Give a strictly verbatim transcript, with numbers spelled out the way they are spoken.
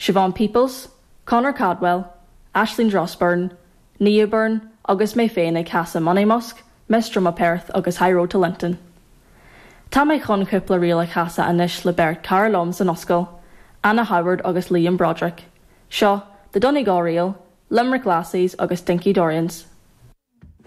Siobhan Peoples, Conor Cadwell, Aisling Drossburn, Nia Byrne agus mé féin ag casadh Monymusk, Miss Drumma Perth agus High Road to Linton. Tá mé chun cúpla ríl a chasadh anois le beirt cara liom san ollscoil, Anna Howard agus Liam Broderick. Seo, The Donegal Reel, Limerick Lassies agus Dinky Dorians.